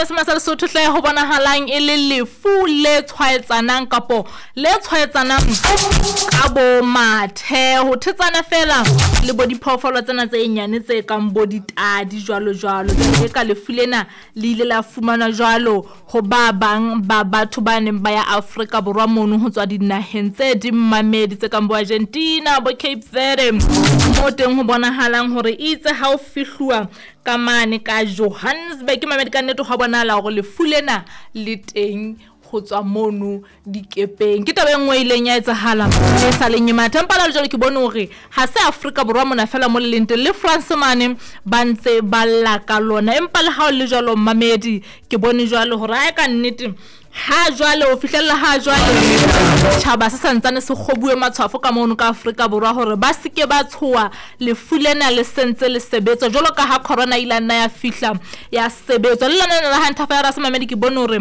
Moesema sa Lesotho hle ho bonahalang e le lefu le tshwaetsanang kapo le tshwaetsanang ka bo mathe, ho thetsana fela le bo diphoofolo tsena tse nyane tse kang bo ditadi jwalo jwalo. Jwale eka lefu lena le ile la fumanwa jwalo ho ba bang ba batho ba neng ba ya Afrika Borwa mono ho tswa dinaheng tse ding mamedi tse kang bo Argentina, bo Cape Verde, moo teng ho bonahalang hore itse ha o fihluwa ka mane ka Johannesburg mamedi ka nnete hwa bonahala hore lefu lena le teng ho tswa mono dikepeng. Ke taba e nngwe e ileng ya etsahala e sa leng e matha. Empa jwale ke bone hore ha se Afrika Borwa mona fela mo le leng teng, le France mane ba ntse ba lla ka lona. Empa le ha o le jwalo mamedi, ke bone jwalo hore ae ka nnete ha jwale ho fihlella ha jwale tjhaba se santsane se kgobuwe matshwafo ka mono ka Afrika Borwa hore ba seke ba tshoha lefu lena le sentse le sebetswa jwalo ka ha corona ile nna ya fihla ya sebetswa. Le lona la hantavirus mamedi ke bone hore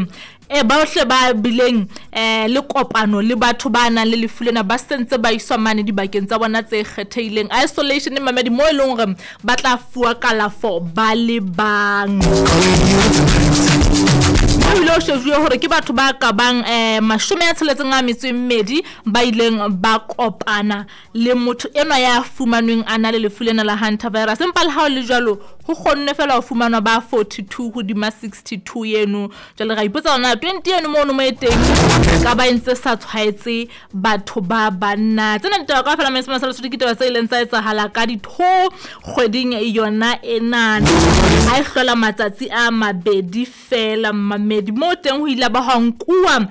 bohle ba bileng le kopano le batho ba nang le lefu lena ba sentse ba iswa mane dibakeng tsa bona tse kgethehileng, isolation mamedi, mo e leng hore ba tla fuwa kalafo ba le bang. Ho ile ho shejuwe hore ke batho ba ka bang 62 ba ileng ba kopana le motho enwa ya fumanweng a na le lefu lena la hantavirus. Empa le ha ho le jwalo ho kgonne fela ho fumanwa ba 42 hodima 62 eno. Jwale ra ipotsa hore na 20 eno mono mo e teng ka ba ntse sa tshwaetse batho ba banna. Tsena ditaba kaofela Moesema sa Lesotho ke ditaba tse ileng tsa etsahala ka ditho kgweding yona enana, ha e hlola matsatsi a mabedi fela mamedi. Moo teng ho ile ba hwa nkuwa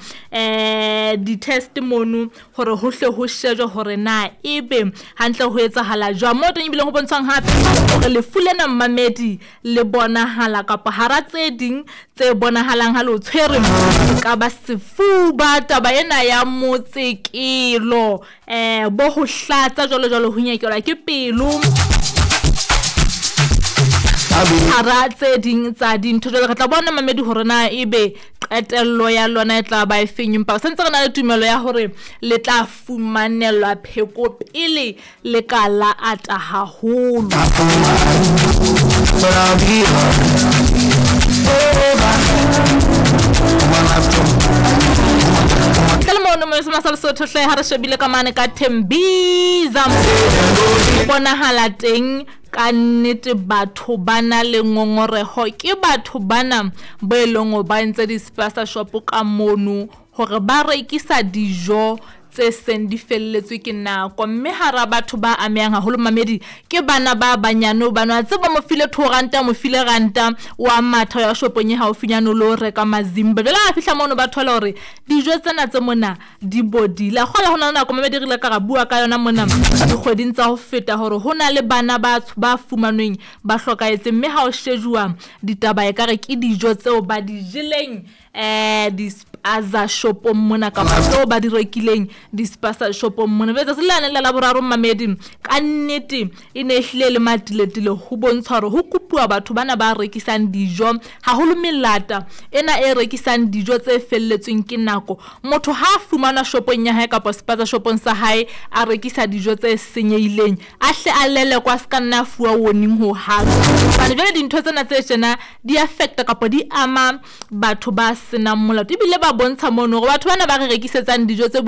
di-test mono hore ho hle ho shejwe hore na ebe hantle ho etsahala jwang. Moo teng ebile ho bontshwang hape hore lefu lena mamedi le bonahala kapa hara tse ding tse bonahalang ha le o tshwere ka ba sefuba, taba ena ya motsekelo, bo ho hlatsa jwalo jwalo, ho nyekelwa ke pelo, hara tse ding tsa dintho. Jwale re tla bona mamedi hore na ebe qetello ya lona e tla ba e feng, empa sentse re na le tumelo ya hore le tla fumanelwa pheko pele le ka la ata haholo. Ntle le mono Moesema sa Lesotho hle ha re shebile ka mane ka Tembisa, bonahala teng ka nnete batho ba na le ngongoreho. Ke batho bana bo e leng hore ba entse di-spaza shop ka mono hore ba rekisa dijo tse seng di felletswe ke nako, mme hara batho ba amehang haholo mamedi ke bana ba banyane hobane wa tseba mo file 2 ranta, mo file ranta wa matha ya shopong e haufinyane o lo reka mazimba. Jwale ha fihla mono ba thola hore dijo tsena tse mona di bodile. A kgola ho na le nako mamedi re ile ka ra bua ka yona mona dikgweding tsa ho feta hore ho na le bana ba fumanweng ba hlokahetseng, mme ha o shejuwa ditaba ekare ke dijo tseo ba di jeleng di-spaza shopong mona kapa tseo ba di rekileng di-spaza shopong mona. Letsatsi le lane la Laboraro mamedi ka nnete e ne ehlile le matiletile ho bontsha hore ho kopuwa batho bana ba rekisang dijo, haholo melata ena e rekisang dijo tse felletsweng ke nako. Motho ha a fumanwa shopong ya hae kapa spaza shopong sa hae a rekisa dijo tse senyehileng, a hle a lelekwa, a se ka nna a fuwa warning ho hang. Hobane jwale dintho tsena tse tjena di affecta kapa di ama batho ba senang molato, ebile ba bontsha mono hore batho bana ba re rekisetsang dijo tse